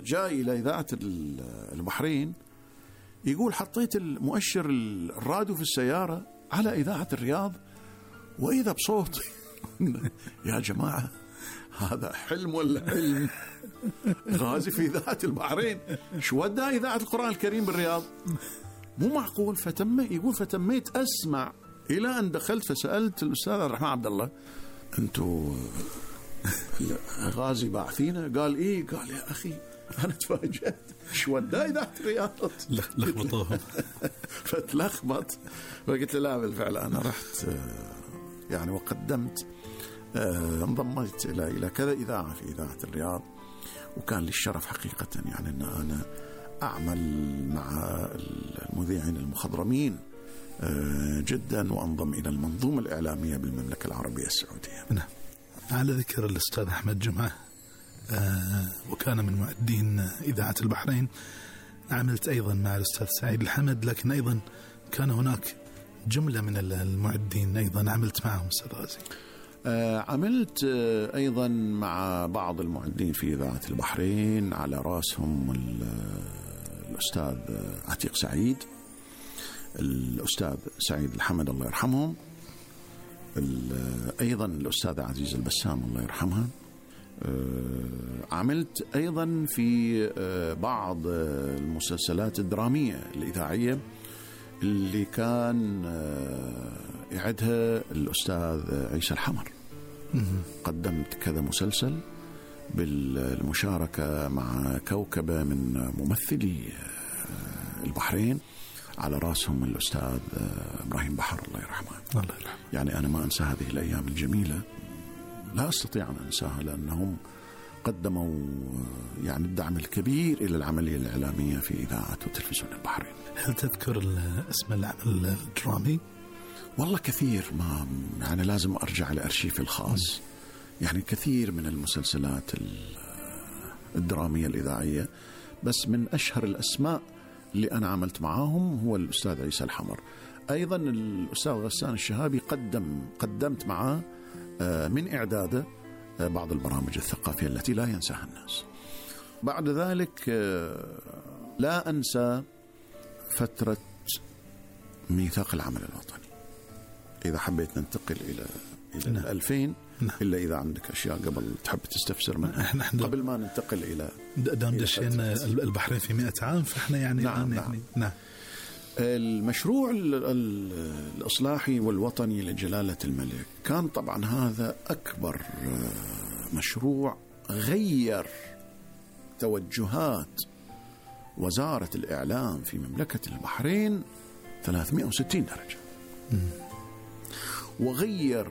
جاي إلى إذاعة البحرين يقول حطيت المؤشر الراديو في السيارة على إذاعة الرياض وإذا بصوت يا جماعة هذا حلم ولا حلم؟ غازي في إذاعة البحرين شو ودى إذاعة القرآن الكريم بالرياض؟ مو معقول. فتميت أسمع إلى أن دخلت فسألت الأستاذ الرحمن عبد الله أنتوا غازي باعثينه؟ قال إيه. قال يا أخي أنا تفاجأت شو ودى إذاعة الرياض لخبطوهم فتلخبط. فقلت له لا بالفعل أنا رحت يعني وقدمت انضميت إلى كذا إذاعة في إذاعة الرياض، وكان لي الشرف حقيقة يعني أن أنا أعمل مع المذيعين المخضرمين جدا وأنضم إلى المنظومة الإعلامية بالمملكة العربية السعودية. نعم. على ذكر الأستاذ أحمد جمعة وكان من مؤدين إذاعة البحرين، عملت أيضا مع الأستاذ سعيد الحمد، لكن أيضا كان هناك جملة من المؤدين أيضا عملت معهم أستاذ غازي. عملت أيضا مع بعض المؤدين في إذاعة البحرين، على رأسهم الأستاذ عتيق سعيد، الأستاذ سعيد الحمد الله يرحمهم، أيضا الأستاذ عزيز البسام الله يرحمها. عملت أيضا في بعض المسلسلات الدرامية الإذاعية اللي كان يعدها الأستاذ عيسى الحمر. قدمت كذا مسلسل بالمشاركة مع كوكبة من ممثلي البحرين، على رأسهم الأستاذ إبراهيم بحر الله يرحمه. يعني أنا ما أنسى هذه الأيام الجميلة، لا أستطيع أن أنساها، لأنهم قدموا يعني الدعم الكبير إلى العملية الإعلامية في إذاعة وتلفزيون البحرين. هل تذكر اسم العمل الدرامي؟ والله كثير، ما يعني لازم أرجع لأرشيفي الخاص. يعني كثير من المسلسلات الدرامية الإذاعية، بس من أشهر الأسماء اللي أنا عملت معاهم هو الأستاذ عيسى الحمر. أيضا الأستاذ غسان الشهابي قدمت معاه من إعداده بعض البرامج الثقافية التي لا ينساها الناس. بعد ذلك لا أنسى فترة ميثاق العمل الوطني. إذا حبيت ننتقل إلى 2000 إلا إذا عندك أشياء قبل تحب تستفسر منها قبل ما ننتقل إلى دام دشين البحرين في 100 عام، فإحنا يعني نعم. المشروع الإصلاحي والوطني لجلالة الملك كان طبعا هذا أكبر مشروع غير توجهات وزارة الإعلام في مملكة البحرين 360 درجة، وغير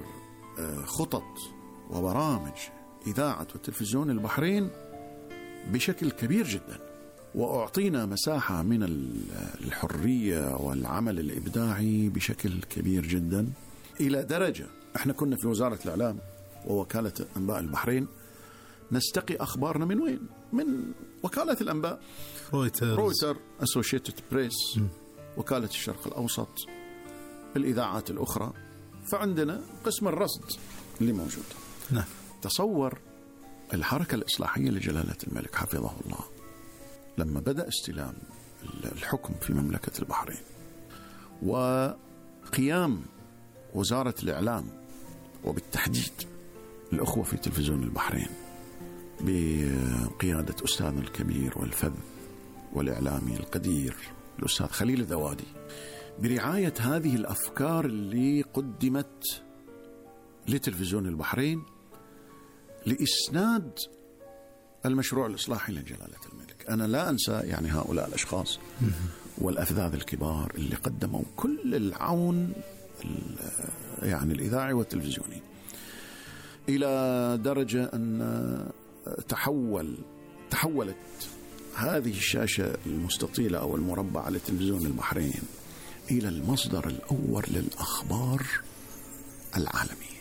خطط وبرامج إذاعة وتلفزيون البحرين بشكل كبير جدا، وأعطينا مساحة من الحرية والعمل الإبداعي بشكل كبير جدا، إلى درجة إحنا كنا في وزارة الإعلام ووكالة أنباء البحرين نستقي أخبارنا من وين؟ من وكالة الأنباء، رويتر، أسوشيتد بريس، وكالة الشرق الأوسط، الإذاعات الأخرى. فعندنا قسم الرصد اللي موجود. نعم. تصور الحركة الإصلاحية لجلالة الملك حفظه الله لما بدأ استلام الحكم في مملكة البحرين، وقيام وزارة الإعلام وبالتحديد الأخوة في تلفزيون البحرين بقيادة أستاذنا الكبير والفذ والإعلامي القدير الأستاذ خليل الذوادي، برعاية هذه الأفكار اللي قدمت لتلفزيون البحرين لإسناد المشروع الإصلاحي لجلالة الملك. أنا لا أنسى يعني هؤلاء الأشخاص والأفذاذ الكبار اللي قدموا كل العون يعني الإذاعي والتلفزيوني، إلى درجة أن تحولت هذه الشاشة المستطيلة أو المربعة لتلفزيون البحرين إلى المصدر الأول للأخبار العالمية.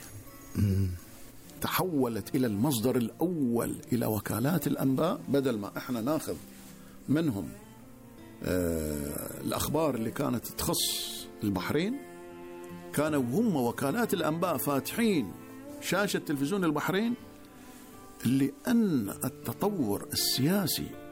تحولت إلى المصدر الأول إلى وكالات الأنباء، بدل ما إحنا ناخذ منهم الأخبار اللي كانت تخص البحرين، كانوا هم وكالات الأنباء فاتحين شاشة تلفزيون البحرين، لأن التطور السياسي